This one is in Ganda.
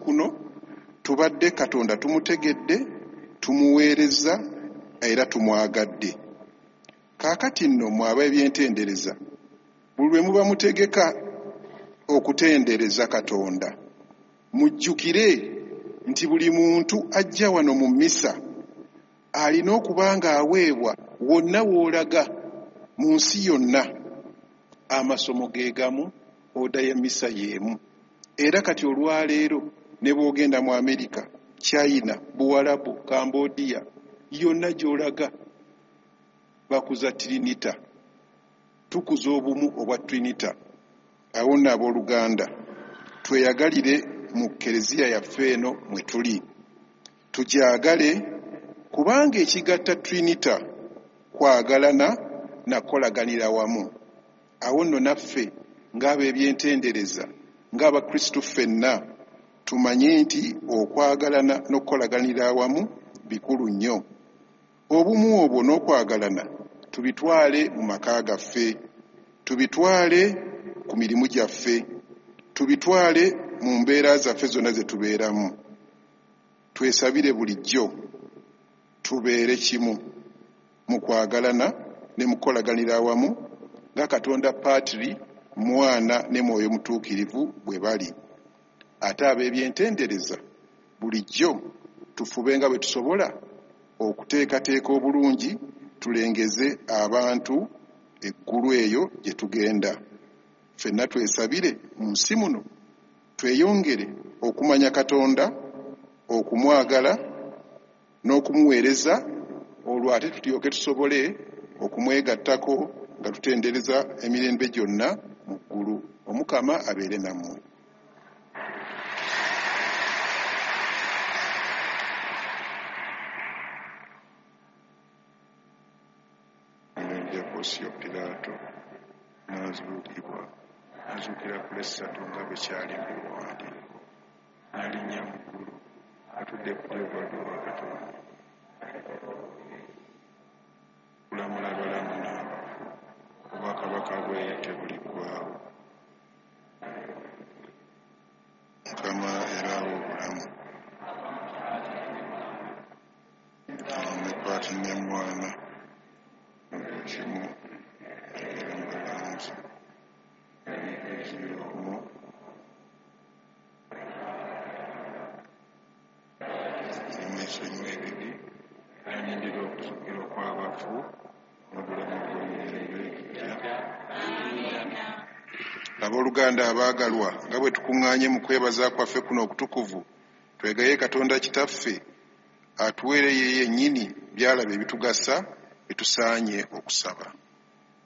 kuno tubadde Katonda tumutegedde, tumuweerezza era tumwagadde. Kaakati nno mmwe ab'ebyentendereza, buli lwe muba mutegeka okutendereza Katonda, mujjukire nti buli muntu ajja wano mu mmisa alina okuba ng'aweebwa wonna w'olaga mu nsi yonna amasomo ge gamu, oda y'emmisa y'emu. Era kati olwaleero ne bw'ogenda mu Amerika, China, Buwalabu, Cambodia, yonna gy'olaga bakuza Trinita. Tukuza obumu obwa Trinita. Awo nno abooluganda tweyagalire mu Kkereziya yaffe eno mwe tuli. Tugyagale kubanga ekigatta Trinita kwagalana na kukolaganira wamu. Awo nno naffe ng'ab'ebyentendereza, ng'Abakristu ffenna, tumanye nti okwagalana n'okukolaganira awamu bikulu nnyo. Obumu obwo n'okwagalana tubitwale mu maka gaffe, tubitwale ku mirimu gyaffe, tubitwale mu mbeera zaffe zonna ze tubeeramu. Twesabire bulijjo tubeere kimu mu kwagalana ne mu kukolaganira awamu nga Katonda Patri, Mwana ne Mwoyo Mutuukirivu bwe bali. Ate ab'ebyentendereza bulijjo tufube nga bwe tusobola okuteekateeka obulungi tulengeze abantu eggulu eyo gye tugenda. Ffenna twesabire mu nsi muno tweyongere okumanya Katonda, okumwagala n'okumuweereza, olwo ate tutyoke tusobole okumwegattako nga tutendereza emirembe gyonna mu ggulu. Omukama abeere nammwe. Ya Ponsiyo Piraato n'azuukibwa, n'azuukira ku lwessatu nga bwe kyali mu biwandiiko, n'alinnya mu ggulu, atudde ku ddyo wa Katonda, okulamula abalamu n'abafu, obwakabaka bwe tebuliggwaawo. Mukama era awa obulamu. Ne Patri ne Mwana kimu era mubalanzi omu nemwesonyiwa ebibi, nalindira okuzuukira okw'abafu n'obulamu obw'emirembe egijja. Abooluganda abaagalwa, nga bwe tukuŋŋaanye mu kwebaza kwaffe kuno okutukuvu, twegaye Katonda Kitaffe atuweere ye yennyini by'alaba ebitugasa bye tusaanye okusaba.